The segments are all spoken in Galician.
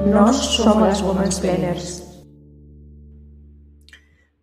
Nós somos as Womansplainers.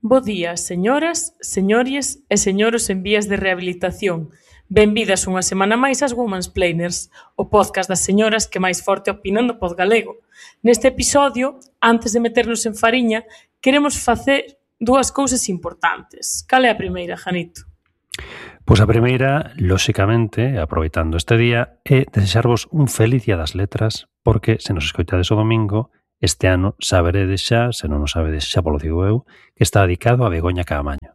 Bo día, señoras, señores e señoros en vías de rehabilitación. Benvidas unha semana máis ás Womansplainers, o podcast das señoras que máis forte opinan do pod galego. Neste episodio, antes de meternos en fariña, queremos facer dúas cousas importantes. Cal é a primeira, Janito? Pois a primeira, lóxicamente, aproveitando este día, é desexarvos un feliz Día das Letras, porque se nos escoitades o domingo, este ano saberedes xa, se non o sabedes xa polo digo eu, que está dedicado a Begoña Caamaño.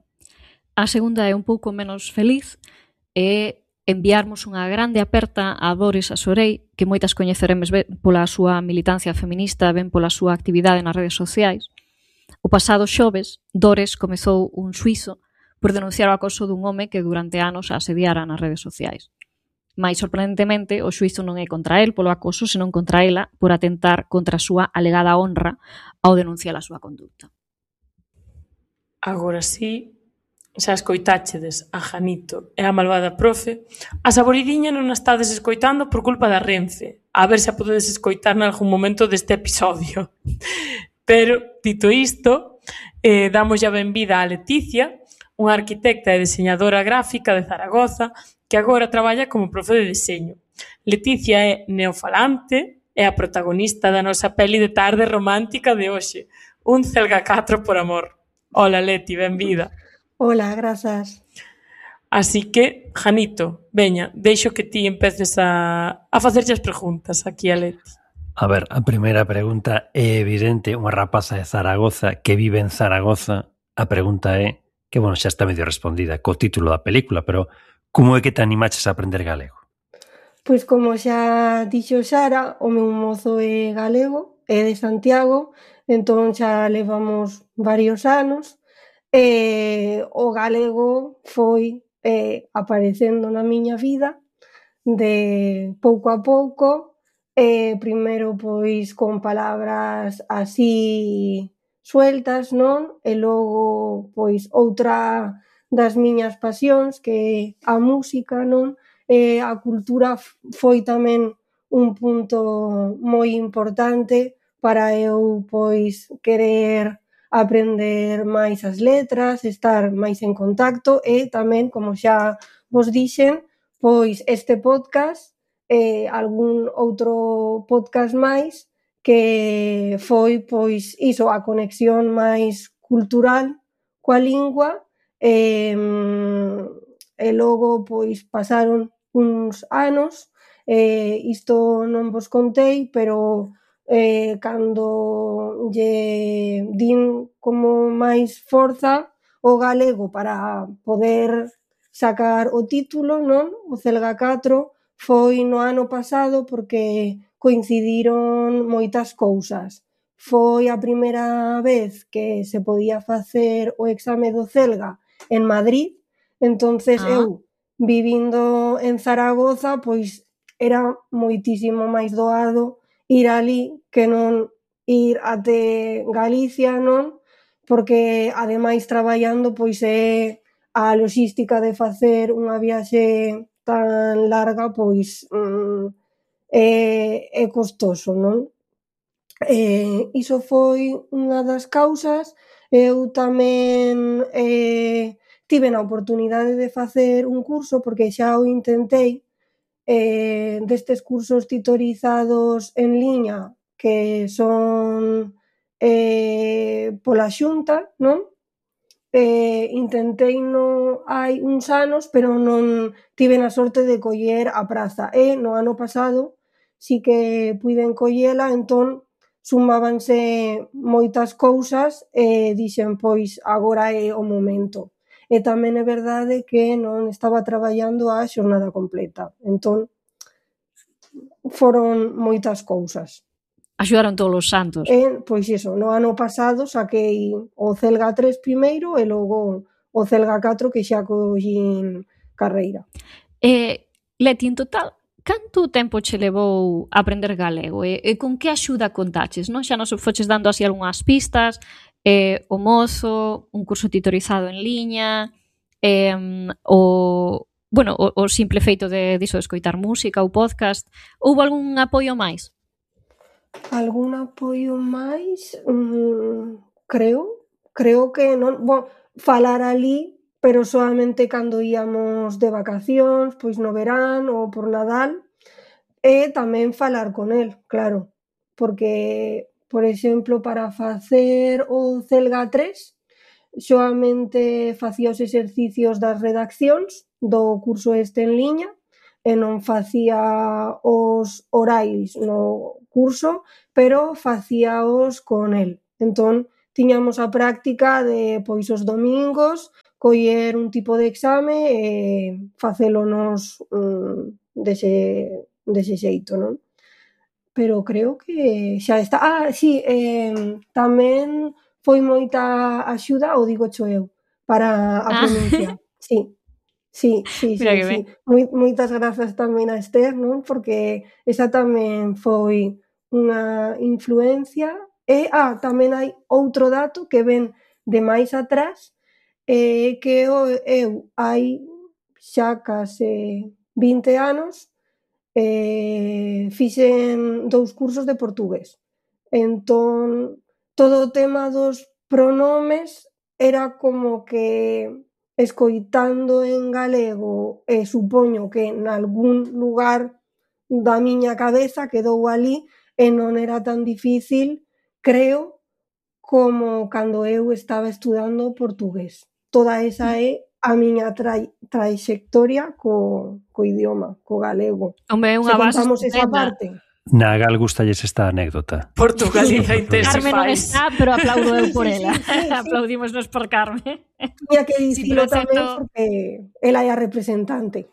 A segunda é un pouco menos feliz, é enviarmos unha grande aperta a Dores Asorei, que moitas coñeceremes ben pola súa militancia feminista, ben pola súa actividade nas redes sociais. O pasado xoves, Dores comezou un xuízo por denunciar o acoso dun home que durante anos a asediara nas redes sociais. Mais sorprendentemente, o xuízo non é contra el polo acoso, senón contra ela por atentar contra a súa alegada honra ao denunciar a súa conducta. Agora sí, xa escoitáchedes a Janito e a malvada profe, a saboridiña non a estades escoitando por culpa da Renfe, a ver se a podedes escoitar nalgún momento deste episodio. Pero, dito isto, damos a benvida a Leticia, unha arquitecta e diseñadora gráfica de Zaragoza que agora traballa como profe de deseño. Leticia é neofalante e a protagonista da nosa peli de tarde romántica de hoxe, Un Celga 4 por amor. Hola Leti, benvida. Hola, grazas. Así que, Janito, veña, deixo que ti empeces a facerlle as preguntas aquí a Leti. A ver, a primeira pregunta é evidente, unha rapaza de Zaragoza que vive en Zaragoza, a pregunta é, que, bueno, xa está medio respondida co título da película, pero como é que te animaches a aprender galego? Pois como xa dixo Sara, o meu mozo é galego, é de Santiago, entón xa levamos varios anos, e o galego foi aparecendo na miña vida de pouco a pouco, primeiro pois con palabras así sueltas, non? E logo, pois, outra das miñas pasións, que é a música, non? E a cultura foi tamén un punto moi importante para eu, pois, querer aprender máis as letras, estar máis en contacto e tamén, como xa vos dixen, pois este podcast e algún outro podcast máis que foi, pois, iso, a conexión máis cultural coa lingua e logo, pois, pasaron uns anos isto non vos contei, pero cando lle din como máis forza o galego para poder sacar o título, non? O Celga 4 foi no ano pasado porque coincidiron moitas cousas. Foi a primeira vez que se podía facer o exame do Celga en Madrid, entonces eu, vivindo en Zaragoza, pois era moitísimo máis doado ir ali que non ir até Galicia, non? Porque, ademais, traballando, pois é a loxística de facer unha viaxe tan larga, pois é costoso, non? Iso foi unha das causas. Eu tamén tive a oportunidade de facer un curso, porque xa o intentei, destes cursos titorizados en liña que son pola Xunta, non? Intenteino hai uns anos, pero non tive a sorte de coller a praza. E no ano pasado si que puiden collela, entón sumábanse moitas cousas e dixen, pois, agora é o momento. E tamén é verdade que non estaba traballando a xornada completa, entón foron moitas cousas. Axudaron todos os santos. Pois iso, no ano pasado saquei o Celga 3 primeiro e logo o Celga 4 que xa collín carreira. Leti, en total, canto tempo che levou aprender galego? E con que axuda contaches, non? Xa nos foches dando así algunhas pistas, o mozo, un curso titorizado en liña, o simple feito de escoitar música ou podcast. Houbo algún apoio máis? Algún apoio máis? Creo que non. Falar alí, pero solamente cando íamos de vacacións, pois no verán ou por Nadal, e tamén falar con el, claro, porque, por exemplo, para facer o Celga 3, soamente facía os exercicios das redaccións do curso este en liña e non facía os orais no curso, pero facíaos con el. Entón, tiñamos a práctica de, pois, os domingos, coller un tipo de exame e facélonos dese xeito, non? Pero creo que xa está. Sí, tamén foi moita axuda, o digocho eu, para a pronuncia. Sí. Mira que ben. Moitas grazas tamén a Esther, non? Porque esa tamén foi unha influencia. E tamén hai outro dato que ven de máis atrás, que eu hai xa case 20 anos fixen 2 cursos de portugués. Entón, todo o tema dos pronomes era como que escoitando en galego, supoño que nalgún lugar da miña cabeza quedou ali e non era tan difícil, creo, como cando eu estaba estudando portugués. Toda esa é a miña traxectoria co idioma, co galego. Hombre, é unha base contamos esa estupenda. parte. Na Gal gustalles esta anécdota. Portugalía Carmen non Intensifies. está, pero aplaudo eu por ela. Sí. Aplaudímonos por Carmen. Tiña que dicilo pero é tamén certo- porque ela é a representante.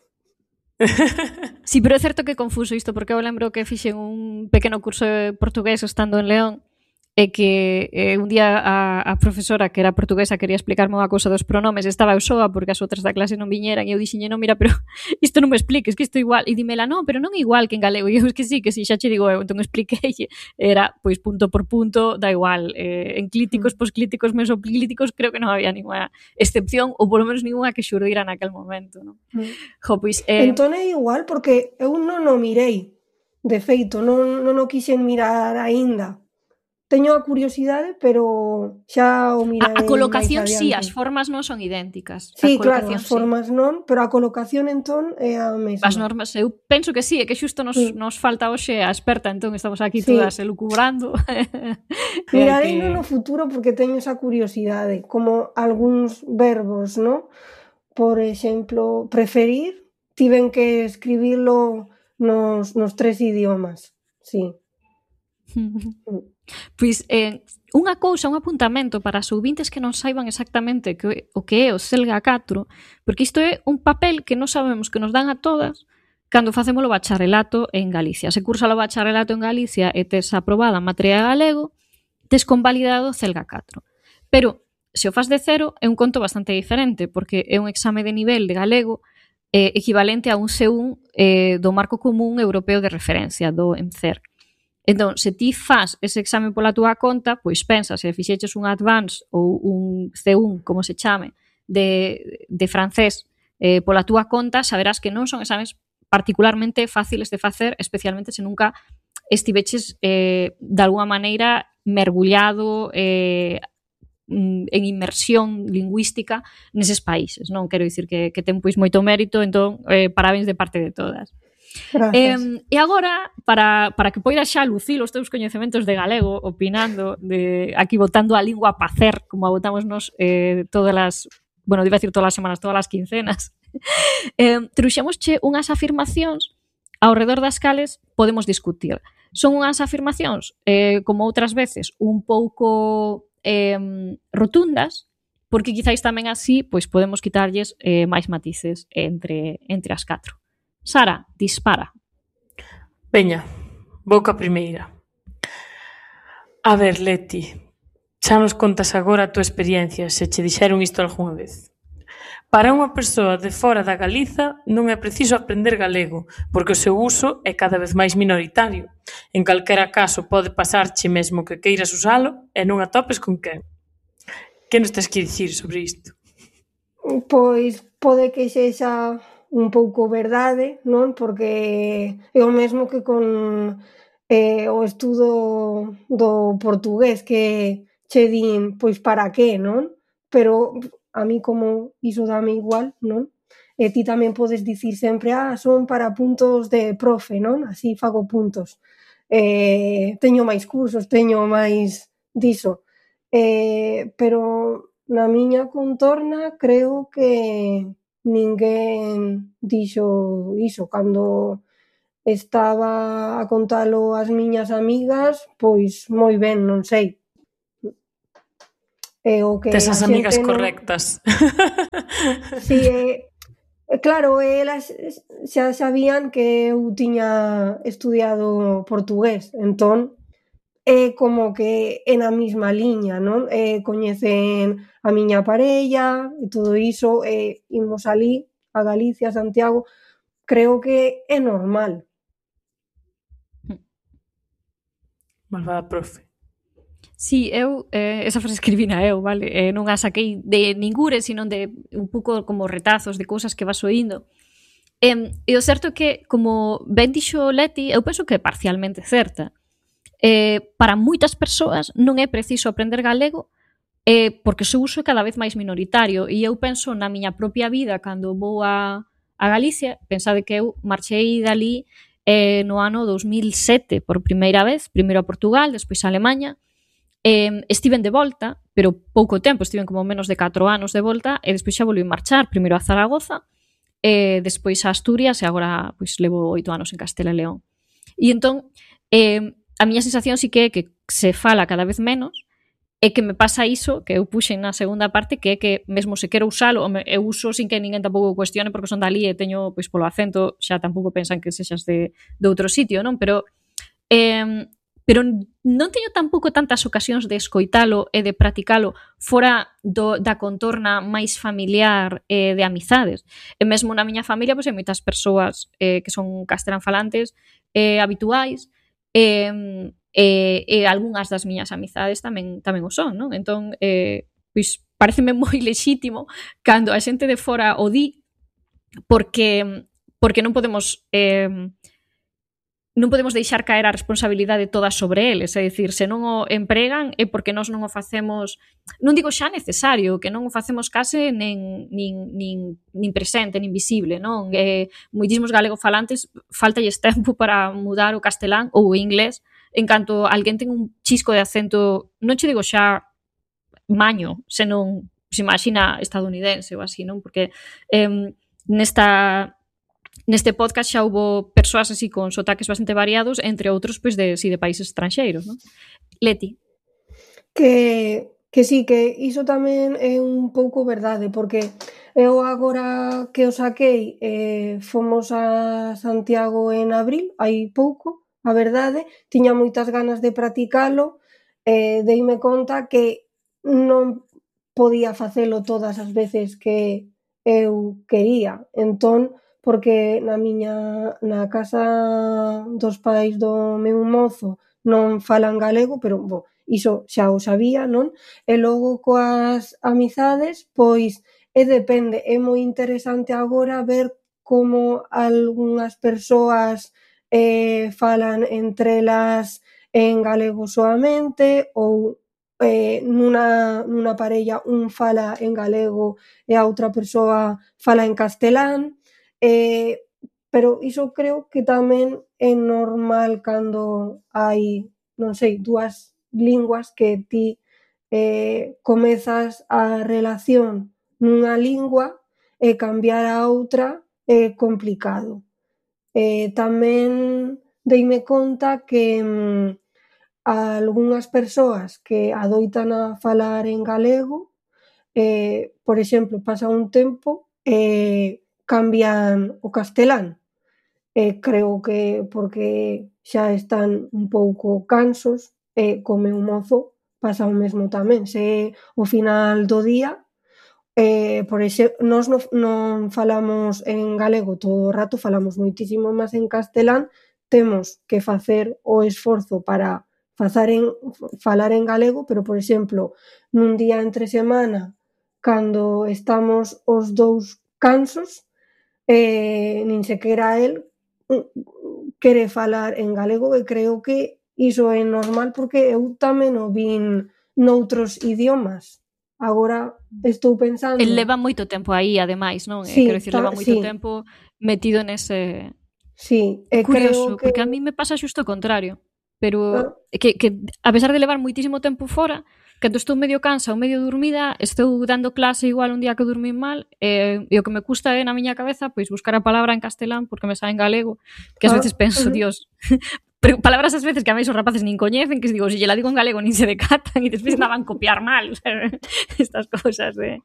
Sí, pero é certo que é confuso isto, porque eu lembro que fixen un pequeno curso de portugués estando en León, e que un día a profesora, que era portuguesa, quería explicarme unha cousa dos pronomes, estaba eu soa porque as outras da clase non viñeran, e eu dixenlle, non, mira, pero isto non me expliques, que isto é igual. E dímela, non, pero non é igual que en galego. E eu, que sí, xa che digo eu. Entón expliquei, era, pois, punto por punto, da igual. Enclíticos, posclíticos, mesoclíticos, creo que non había ninguna excepción, ou polo menos ninguna que xurdira naquel momento, non? Jo, pois... Entón é igual, porque eu non o mirei. De feito, non o quixen mirar aínda. Teño a curiosidade, pero xa o mirarei. A colocación máis sí, adiante. as formas non son idénticas. Sí, A claro, colocación as formas non, pero a colocación entón é a mesma. As normas, eu penso que sí, é que xusto nos falta hoxe a experta, entón estamos aquí Sí. todas elucubrando. Mirarei no futuro porque teño esa curiosidade, como algúns verbos, ¿no? Por exemplo, preferir, tiven que escribilo nos 3 idiomas, sí. Pois, unha cousa, un apuntamento para os ouvintes que non saiban exactamente o que é o Celga 4, porque isto é un papel que non sabemos que nos dan a todas cando facemos o bacharelato en Galicia. Se cursa o bacharelato en Galicia e tes aprobada a materia de galego, tes convalidado o Celga 4. Pero, se o fas de cero, é un conto bastante diferente, porque é un exame de nivel de galego equivalente a un C1 do Marco Común Europeo de Referencia, do ENCER. Entón, se ti fas ese exame pola túa conta, pois pensa, se fixeches un advance ou un C1, como se chame, de francés pola túa conta, saberás que non son exames particularmente fáciles de facer, especialmente se nunca estiveches de alguma maneira mergullado en inmersión lingüística neses países. Non quero dicir que ten pois moito mérito, entón parabéns de parte de todas. E agora, para que poidas xa lucir os teus coñecementos de galego, opinando, aquí botando a lingua a pacer, como a botamos nos todas as, bueno, iba a decir todas as semanas, todas as quincenas, trouxémosche unhas afirmacións ao redor das cales podemos discutir. Son unhas afirmacións, como outras veces, un pouco rotundas, porque quizáis tamén así pois podemos quitarlles máis matices entre as 4. Sara, dispara. Veña, vou ca primeira. A ver, Leti, xa nos contas agora a túa experiencia, se che dixeron isto algunha vez. Para unha persoa de fora da Galiza non é preciso aprender galego, porque o seu uso é cada vez máis minoritario. En calquera caso pode pasarche mesmo que queiras usalo e non atopes con quen. Que nos tens que dicir sobre isto? Pois pode que sexa un pouco verdade, non? Porque é o mesmo que con o estudo do portugués que che din, pois para que, non? Pero a mí como iso dame igual, non? E ti tamén podes dicir sempre, son para puntos de profe, non? Así fago puntos. Teño máis cursos, teño máis diso. Pero na miña contorna creo que ninguén dixo iso. Cando estaba a contalo ás miñas amigas, pois moi ben, non sei. O que Tes as a amigas xente non... correctas. Si, claro, elas xa sabían que eu tiña estudiado portugués, entón é como que é na mesma liña, non? Coñecen a miña parella e todo iso, imos alí a Galicia, a Santiago, creo que é normal. Malvada profe. Si, eu, esa frase escribina eu, vale? Non a saquei de ningure, sino de un pouco como retazos de cousas que vas oíndo. E o certo é que, como ben dixo Leti, eu penso que é parcialmente certa. Para moitas persoas non é preciso aprender galego porque o seu uso é cada vez máis minoritario. E eu penso na miña propia vida cando vou a Galicia, pensade que eu marchei dali no ano 2007 por primeira vez, primeiro a Portugal, despois a Alemanha. Estiven de volta, pero pouco tempo, estiven como menos de 4 anos de volta, e despois xa volví marchar, primeiro a Zaragoza, despois a Asturias, e agora pois levo 8 anos en Castela e León. E entón, a miña sensación sí que é que se fala cada vez menos, e que me pasa iso, que eu puxen na segunda parte, que é que mesmo se quero usalo, eu uso sin que ninguén tampouco cuestione, porque son dali e teño, pois polo acento, xa tampouco pensan que sexas de outro sitio, non? Pero non teño tampouco tantas ocasións de escoitalo e de practicalo fora da contorna máis familiar de amizades. E mesmo na miña familia, pois hai moitas persoas que son castelán falantes habituais, e algunhas das miñas amizades tamén o son, non? Entón, pois pareceme moi lexítimo cando a xente de fora o di, porque non podemos deixar caer a responsabilidade toda sobre eles, é dicir, se non o empregan é porque nós non o facemos, non digo xa necesario, que non o facemos case nin presente, nin visible, non? Moitísimos galegofalantes faltalles tempo para mudar o castelán ou o inglés, en canto alguén ten un chisco de acento, non che digo xa maño, senón, se imagina estadounidense ou así, non? Porque neste podcast xa houbo persoas así con sotaques bastante variados, entre outros pois de países estranxeiros, non? Leti. Que sí, que iso tamén é un pouco verdade, porque eu agora que o saquei fomos a Santiago en abril, hai pouco, a verdade, tiña moitas ganas de practicalo, deime conta que non podía facelo todas as veces que eu quería, entón, porque na casa dos pais do meu mozo non falan galego, pero, iso xa o sabía, non? E logo coas amizades, pois, depende, é moi interesante agora ver como algunhas persoas falan entre elas en galego soamente ou nunha parella un fala en galego e a outra persoa fala en castelán, pero iso creo que tamén é normal cando hai, non sei, dúas linguas que ti comezas a relación nunha lingua e cambiar a outra é complicado. Tamén deime conta que algunhas persoas que adoitan a falar en galego, por exemplo, pasa un tempo e cambian o castelán. Creo que porque xa están un pouco cansos e co meu mozo pasa o mesmo tamén. Se ao final do día, por exemplo, nós non falamos en galego todo o rato, falamos moitísimo máis en castelán, temos que facer o esforzo para falar en galego, pero, por exemplo, nun día entre semana, cando estamos os dous cansos, nin sequera el quere falar en galego e creo que iso é normal porque eu tamén o vin noutros idiomas. Agora estou pensando... El leva moito tempo aí, ademais, non? Sí, Quero dicir, leva moito sí. tempo metido nese... Sí, Curioso, creo que... porque a mí me pasa xusto o contrario. Pero que a pesar de levar moitísimo tempo fora, cando estou medio cansa ou medio dormida, estou dando clase igual un día que dormín mal, e o que me custa é na miña cabeza pois buscar a palabra en castelán porque me sae en galego, que ás veces penso, Dios, pero palabras ás veces que a mí os rapaces nin coñecen, que digo, se lle la digo en galego nin se decatan e despois andaban copiar mal, estas cousas de...